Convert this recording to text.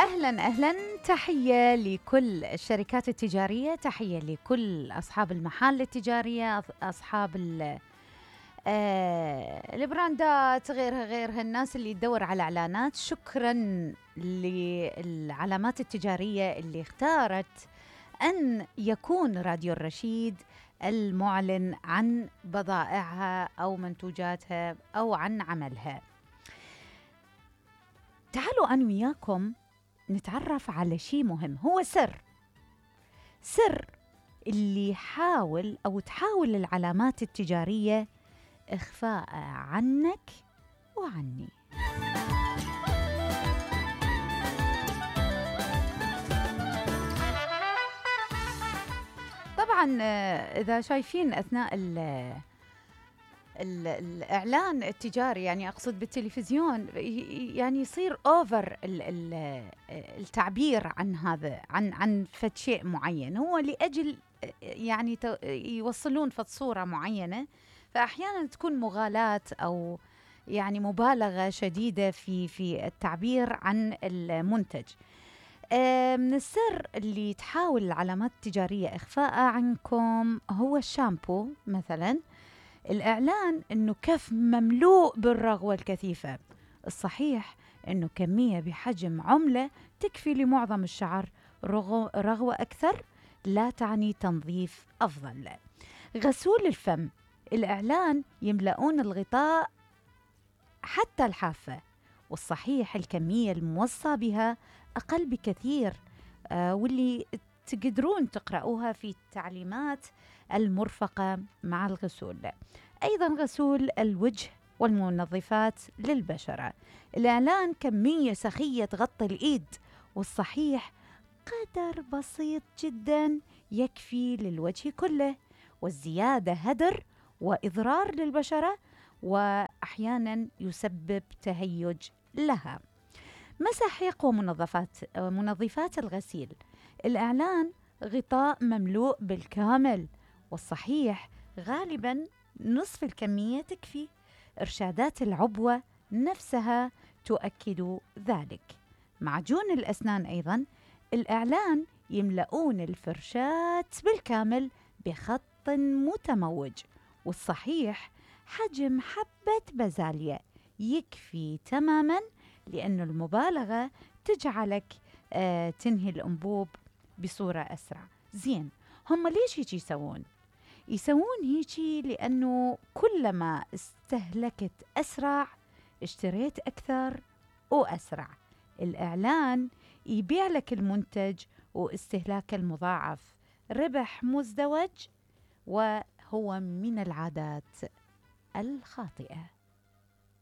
أهلا أهلا، تحية لكل الشركات التجارية، تحية لكل أصحاب المحال التجارية، أصحاب البراندات، غيرها الناس اللي تدور على إعلانات. شكرا للعلامات التجارية اللي اختارت أن يكون راديو الرشيد المعلن عن بضائعها أو منتوجاتها أو عن عملها. تعالوا أنا وياكم نتعرف على شيء مهم، هو سر اللي يحاول أو تحاول العلامات التجارية إخفاء عنك وعني. طبعا إذا شايفين أثناء الإعلان التجاري، يعني أقصد بالتلفزيون، يعني يصير أوفر التعبير عن هذا، عن فد شيء معين، هو لأجل يعني يوصلون فد صورة معينة، فأحيانا تكون مغالاة أو يعني مبالغة شديدة في التعبير عن المنتج. من السر اللي تحاول العلامات التجارية إخفاء عنكم هو الشامبو مثلاً. الإعلان إنه كف مملوء بالرغوة الكثيفة، الصحيح إنه كمية بحجم عملة تكفي لمعظم الشعر. رغوة أكثر لا تعني تنظيف أفضل. غسول الفم، الإعلان يملؤون الغطاء حتى الحافة، والصحيح الكمية الموصى بها أقل بكثير، واللي تقدرون تقرأوها في التعليمات المرفقة مع الغسول. أيضا غسول الوجه والمنظفات للبشرة، الإعلان كمية سخية تغطي الإيد، والصحيح قدر بسيط جدا يكفي للوجه كله، والزيادة هدر وإضرار للبشرة، وأحيانا يسبب تهيج لها. مساحيق ومنظفات الغسيل، الإعلان غطاء مملوء بالكامل، والصحيح غالباً نصف الكمية تكفي. إرشادات العبوة نفسها تؤكد ذلك. معجون الأسنان أيضاً، الإعلان يملؤون الفرشاة بالكامل بخط متموج، والصحيح حجم حبة بازاليا يكفي تماماً، لأن المبالغة تجعلك تنهي الأنبوب بصورة أسرع. زين، هم ليش هيك يسوون هيك؟ لأنه كلما استهلكت أسرع اشتريت أكثر وأسرع. الإعلان يبيع لك المنتج واستهلاك المضاعف، ربح مزدوج، وهو من العادات الخاطئة.